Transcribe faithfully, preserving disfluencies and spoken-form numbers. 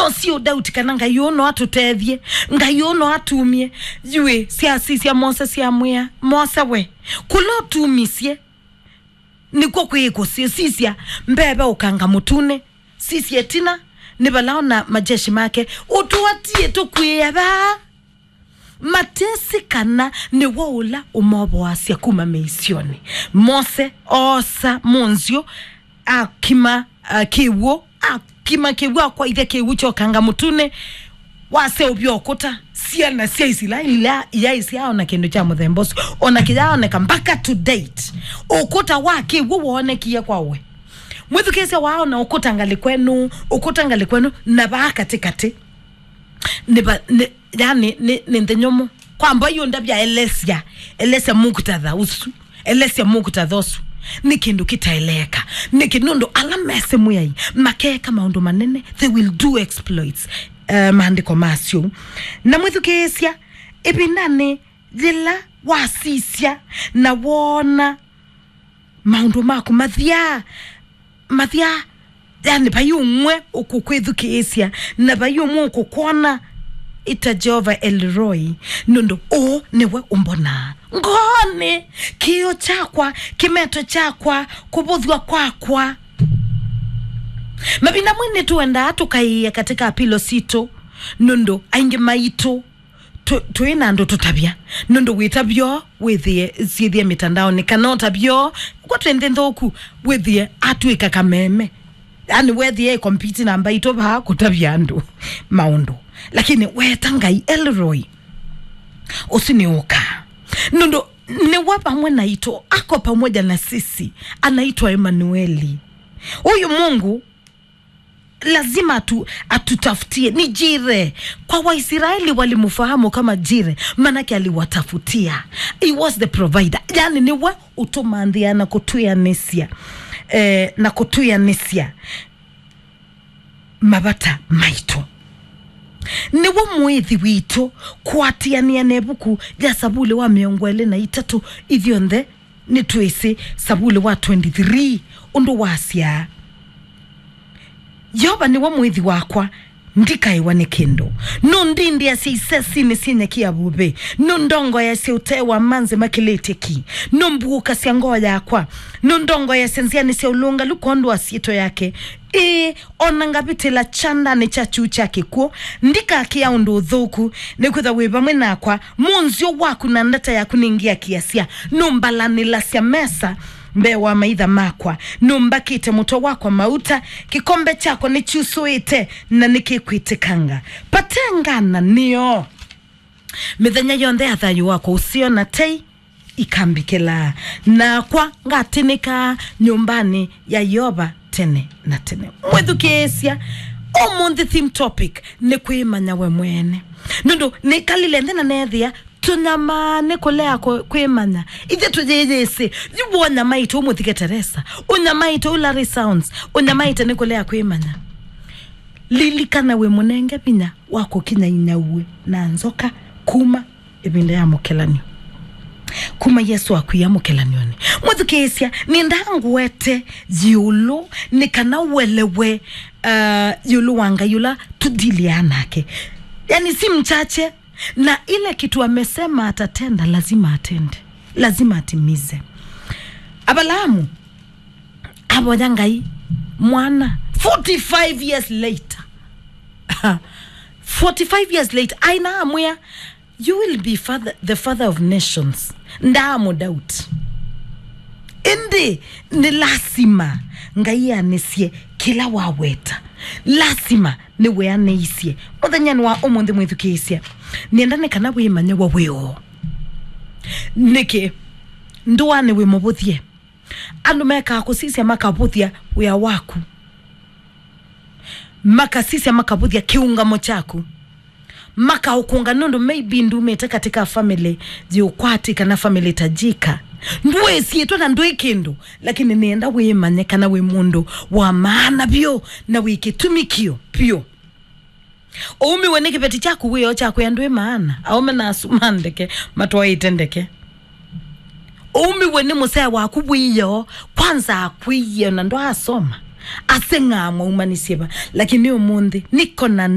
Syĩ ũdauti kana Ngai ũũ no atũtethye, Ngai ũũ no atumie. Yuĩ, syasisya Mose syamwĩa, Mose we, kũla ũtumisye nĩkw'o kwĩ kũsisya mbee ve ũkanga mũtune. Sisya ĩtina, nĩ vala ona majeshi make ũtũatie tũkw'ĩĩa vaa. Matesĩ kana nĩwe ũla ũmovoasya kuma mĩisyonĩ. Mose oosa mũnzyũ, akima, uh, kĩw'ũ, akima kĩw'ũ, akwaithya kĩw'ũ kya ũkanga mũtune, waseũvya ũkũta. Syana sya Isilaeli ila iyaĩ syaona kĩndũ kya mũthemba ũsu, ona kĩyaoneka mpaka to date. Ũkũta wa kĩw'ũ woonekie kwa we. Mwĩthukĩĩsya, waona ũkũta ngalĩ kwenu, ũkũta ngalĩ kwenu, na vaa katĩkatĩ. Nĩ va-, nĩ, yani, nĩ, nĩ nthĩ nyũmũ. Kwa mboĩ ũndavya, elesya, elesya muktadha ũsu. Elesya muktadha ũsu. Nĩ kĩndũ kĩtaeleeka. Nĩkĩ? Nũndũ ala mesĩ Mwĩai makeeka maũndũ manene, they will do exploits. Eh, maandĩko masyo. Na mwĩthukĩĩsya, ĩvindanĩ yĩla wasisya na woona maũndũ maku mathyaa, mathyaa, yani, vai ũmwe ũkũkwĩthukĩĩsya, na vai ũmwe ũkũkwona, ĩta Jehovah El Roi, nũndũ ũũ nĩwe ũmbonaa. Ngoonĩ, kĩĩo kyakwa, kĩmeto kyakwa, kũvũthw'a kwakwa. Mavinda amwe nĩtũendaa tũkaĩĩa katĩ ka pilo sitũ, nũndũ aingĩ maitũ tũ-, twĩ na andũ tũtavya. Nũndũ wĩtavyo wĩthĩe syĩthĩe mĩtandaonĩ, kana ũtavyo kwa twĩ nthĩ nthũku, wĩthĩe atw'ĩka kameme. Yani, wethĩe compete na mbaitũ vaa kũtavya andũ maũndũ. Lakini weta Ngai El Roi, ũsu nĩ ũka. Nũndũ nĩwe vamwe naitũ, ako pamoja na sisi, anaitwa Emanueli. Huyu Mungu lazima atu-, atutafutie. Ni Jire. Kwa Waisraeli walimfahamu kama Jire, manake aliwatafutia. He was the provider. Yani, nĩwe ũtũmanthĩa na kũtwĩanĩsya, eh, na kũtwĩanĩsya mavata maitũ. Nĩwe mũĩthi witũ, kũatĩanĩa na ĩvuku ya Savuli wa mĩongo ĩlĩ na itatũ, ithyonthe nĩtwĩsĩ Savuli wa twenty-three ũndũ wasyaa, Yeova nĩwe mũĩthi wakwa, ndikaĩwa nĩ kĩndũ. Nũndindĩasya isesinĩ syĩ nyeki ya vuvĩ, nũndongoeasya ũtee wa manzĩ makĩlĩtye ki, nũmbuũkasya ngoo yakwa, nũndongoeasya nzĩanĩ sya ũlũngalu kwondũ wa syĩtwa yake. Ĩĩ, o na ngavĩtĩla kyandanĩ kya kyuu kya kĩkw'ũ, ndikakĩa ũndũ ũthũku, nĩkwĩthwa wĩ vamwe nakwa. Mũnzyũ waku na ndata yaku nĩngĩakĩasya. Nũmbalanĩlasya mesa mbee wa maitha makwa, nũmbakĩte mũtwe wakwa mauta, kĩkombe kyakwa nĩkyusũĩte na nĩkĩkwĩtĩkanga. Vate ngananĩo. Mĩthenya yonthe ya thayũ wakwa ũseo na tei ikambĩkĩlaa, nakwa ngatĩnĩkaa nyũmbanĩ ya Yeova tene na tene. Mwĩthukĩĩsya, ũmũnthĩ theme topic nĩ kwĩmanya we mwene. Nũndũ nĩkalile nthĩ na neethĩa tũnyamaa nĩ kũlea kũ-, kwĩmanya. Ithyĩ tũyĩyĩsĩ, yu wonyamaĩte ũmũthike Teresa, ũnyamaĩte ũ Larry Sounds, ũnyamaĩte nĩ kũlea kwĩmanya. Lilikana wĩ mũnenge vinya wa kũkinya inyauĩ na nzoka kuma ĩvinda ya mũkelan'yo. Kuma Yesũ akwia mũkelan'yonĩ. Mwĩthukĩĩsya, nĩndaa ngwete ĩũlũ nĩ kana ũelewe, uh, ĩũlũ wa Ngai ũla tũdiliaa nake. Yani, si mchache, na ile kitu amesema atatenda, lazima atende. Lazima atimize. Abalaamu avoya Ngai mwana forty-five years later. Forty-five years later, aina amwĩa, "You will be father, the father of nations." Ndaamũdoubt. Ĩndĩ nĩ lasima Ngai anĩsye kĩla waweta. Lasima nĩweanĩisye. Mũthenyanĩ wa ũmũnthĩ, mwĩthukĩĩsya, nĩenda nĩ kana wĩmanye we wĩ ũũ. Nĩkĩ? Ndũanĩ wĩ mũvũthye. Andũ mekaa kũsisya makavũthya wĩa waku. Makasisya makavũthya kĩũngamo kyaku. Makaũkũnga nũndũ maybe ndumĩte katika family yĩ ũkwati kana family tajika. Ndwĩsyĩtwe na ndwĩ kĩndũ, lakini nĩenda wĩmanye kana wĩ mũndũ wa maana vyũ na wĩ kĩtumi kĩũ vyũ. Ũumiwe nĩ kĩveti kyaku wĩoo kyakwĩa ndwĩ maana. Aũme na asu ma ndeke matwaĩte ndeke. Ũumiwe nĩ mũsee waku wĩoo, kwanza akwĩie na ndwaasoma. Aseng'aa mwaumanisye va, lakini ũmũnthĩ niko na